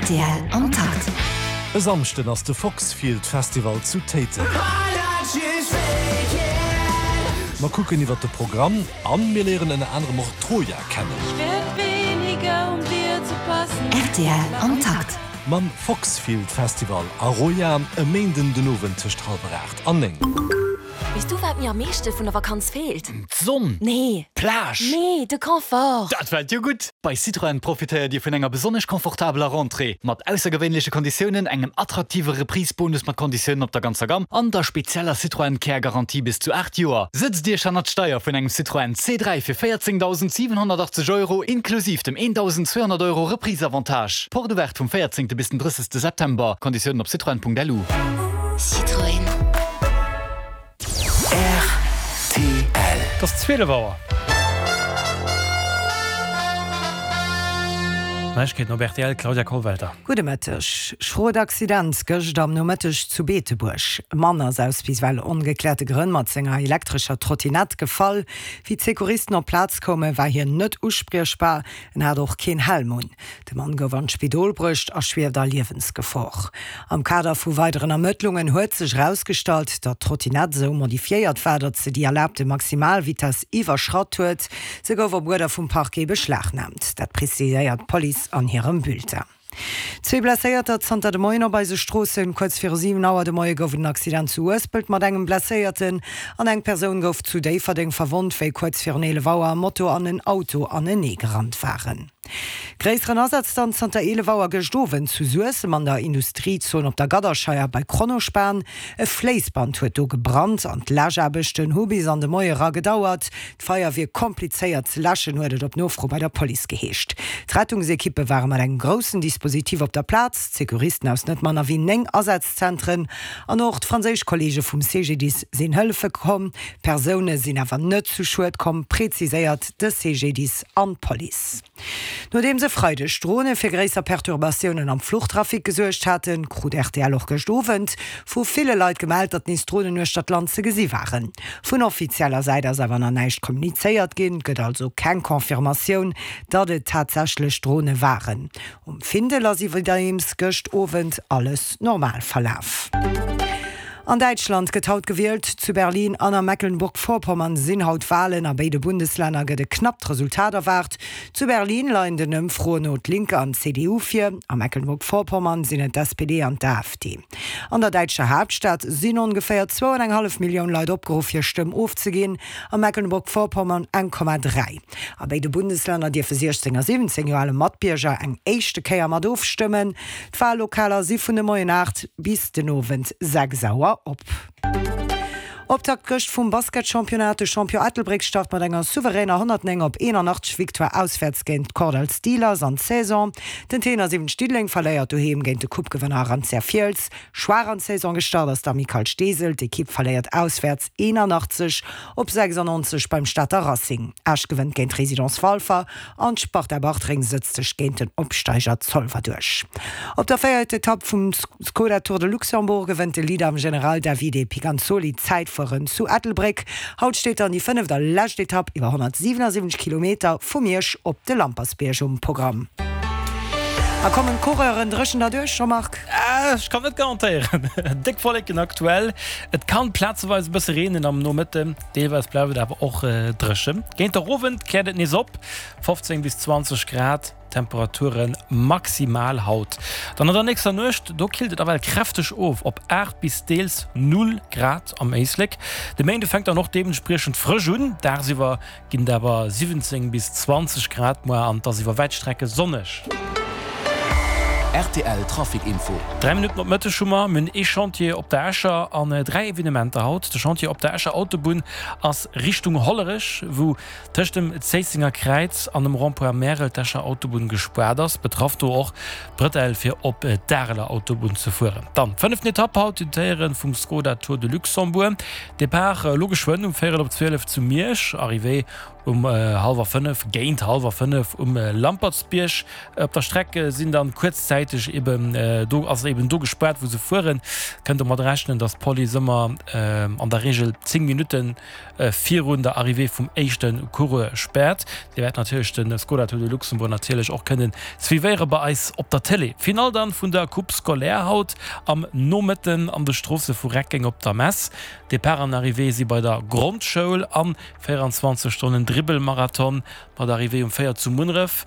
Rtl am Takt. E Samschden ass de Foxfield Festival zu Téiteng. Mer kucken iwwert de Programm an mir léieren ënner anerem och d'Troja kennen. Rtl am Takt. Mam Foxfield Festival a Roja e Méinden den Owend tëscht hallwer 8 an 9. Weess du wat mir am meeschte vun der Vakanz feelt? D'Sonn! Nee. D'Plage! Nee, de Confort! Dat fält jo gutt! Bei Citroën profitéiert Dir vun enger besonnesch confortabeler Rentrée, mat aussergewéinleche Konditiounen, engem attraktive Reprise-Bonus mat Konditiounen op der ganzer Gamm an der spezieller Citroën Care Garantie bis zu 8 Joer. Sëtzt Iech hannert d'Steier vun engem Citroën C3 fir 14.780 Euro inklusiv dem 1.200 Euro Reprise-Avantage. Porte ouverte vum 14. bis den 30. September. Konditiounen op citroën.lu. Citroën. Rtl. Et ass 12 Auer. Neiegkeeten op rtl, Claudia Kollwelter. Gudde Mëtteg. Schrot Accident gëscht am Nomëtteg zu Beetebuerg. E Mann ass aus bis ewell ongekläerte Grënn mat senger elektrescher Trottinett gefall. Wéi d'Secouristen op d'Plaz koumen, war hien net uspriechbar. En hat och keen Helm un. De Mann gouf an d'Spidol bruecht a schwieft a Liewensgefor. Am Kader vu weideren Ermëttlungen huet sech erausgestallt, datt d'Trottinett esou modifiéiert war, datt se déi erlaabte Maximalvitess iwwerschratt huet. Se gouf op Uerder vum Parquet beschlagnaamt. Dat preziséiert d'Police an hirem Bulletin. Zwee Blesséierter zanter de Moien op eise Stroossen. Kuerz viru 7 Auer de Moie gouf et en Accident zu Uespelt mat engem Blesséierten an eng Persoun gouf zu Déifferdeng verwonnt, wéi kuerz virun 11 Auer e Moto an en Auto anenee gerannt waren. Gréisseren Asaz dann zanter 11 Auer gëscht Owend zu Suessem an der Industriezon op der Gadderscheier bei Kronospan. E Fléissband huet do gebrannt an d'Läschaarbechten hu bis an de Moie era gedauert. D'Feier wier komplizéiert ze läschen, huet et op Nofro bei der Police geheescht. D'Rettungsekippe ware mat engem groussen Dispositif op der Plaz, d'Secouristen aus net manner wéi 9 Asazzentren an och d'franséisch Kolleege vum CGDIS sinn hëllefe komm. Persoune sinn awer net zu Schued komm, preziséiert de CGDIS an d'Police. Nodeems e Freideg Drone fir gréisser Perturbatiounen am Fluchtrafic gesuergt haten, krut rtl och gëscht Owend vu ville Leit gemellt, datt nees Dronen uechter d'Land ze gesi waren. Vun offizieller Säit ass awer nach näischt kommunizéiert ginn, et gëtt also keng Confirmatioun, datt et tatsächlech Drone waren. Um Findel ass iwwerdeems gëscht Owend alles normal verlaf. An Däitschland gëtt haut gewielt. Zu Berlin an a Mecklenburg-Vorpommern sinn haut Walen. A béide Bundeslänner gëtt e knappt Resultat erwaart. Zu Berlin leien den Ëmfroen no d'Linke an d'CDU vir, a Mecklenburg-Vorpommern sinn et d'SPD an d'AfD. An der däitscher Haaptstad sinn ongeféier zwou an eng hallef Millioun Leit opgeruff hir Stëmm ofzeginn, a Mecklenburg-Vorpommern 1,3. A béide Bundeslänner dierfe 16 a 17 Joer ale Matbierger eng éischte Kéier mat ofstëmmen. D'Wallokaler si vun de Moien 8 bis den Owend 6 Auer op. Optakt gëscht vum Basketchampionnat, De Champion Ettelbréck start mat enger souveräner 109 op 81 Victoire auswäerts géint d'Kordall Steelers an d'Saison. Den Tenor 7 Diddeleng verléiert doheem géint de Coupe-Gewënner Arantia Fiels. Schwaach an d'Saison gestart ass d'Amicale Steesel. D'Ekipp verléiert auswäerts 81 op 96 beim Stater Racing. Esch gewënnt géint d'Résidence Walfer An d'Sparta Bartreng sëtzt sech géint den Opsteiger Zolwer duerch. Op der véierter Etapp vum Skoda Tour de Luxembourg gewënnt de Leader am General Davide Piganzoli d'Zäitfueren zu Ettelbréck. Haut steet dann déi fënneft a lescht Etapp iwwer 177 Kilometer vu Miersch op de Lampersbierg um Programm. A kommen d'Coureuren dréchen derduerch, Jean-Marc? Ech kann net garantéieren. Déck Wolleken aktuell, et kann plazeweis e bësse reenen am Nomëtten. Deelweis bleift et awer och dréchen. Géint der Owend kläert et nees op, 15 bis 20 Grad Temperature maximal haut. Dann an der nächster Nuecht, do killt et ewell kräfteg of op 8 bis deels 0 Grad am Éislek. De Méinde fänkt dann och deementspriechend frësch un, dagsiwwer ginn et awer 17 bis 20 Grad muer an et ass iwwer wäit Strecke sonneg. Rtl Trafic Info. 3 Minutten op Mëtteg hu mer. Mir hunn ee Chantier op der Escher an 3 Evenementer haut. De Chantier op der Escher Autobunn ass Richtung Hollerech, wou tëscht dem Zéissenger Kräiz an dem Rond-point Märel d'Escher Autobunn gespaart ass. Betraff do och d'Bretelle fir op d'Areler Autobunn ze fueren. Dann d'fënneften Etapp haut, d'Éiere vum Skoda Tour de Luxembourg. Depart elo geschwënn um véierel op 12 zu Miersch, Arrivée Um hallwer 5, géint hallwer 5 um Lampertsbierg. Op der Streck sinn dann kuerzzäiteg. gläichzäiteg eben do ass eben do gespaart wou se fueren. Kënnt domat rechnen, datt d'Police ëmmer an der Reegel 10 Minutten virun der Arrivée vum éischte Coureur späert. Dir wäert natierlech de Skoda Tour de Luxembourg natierlech och kënnen suivéiere bei eis op der Télé. Finall dann vun der Coupe scolaire haut am Nomëtten an de Stroosse vu Reckeng op der Mess. Depart an Arrivée si bei der Grondschoul an 24 Stonnen Dribbelmarathon mat Arrivée um 4 zu Munneref.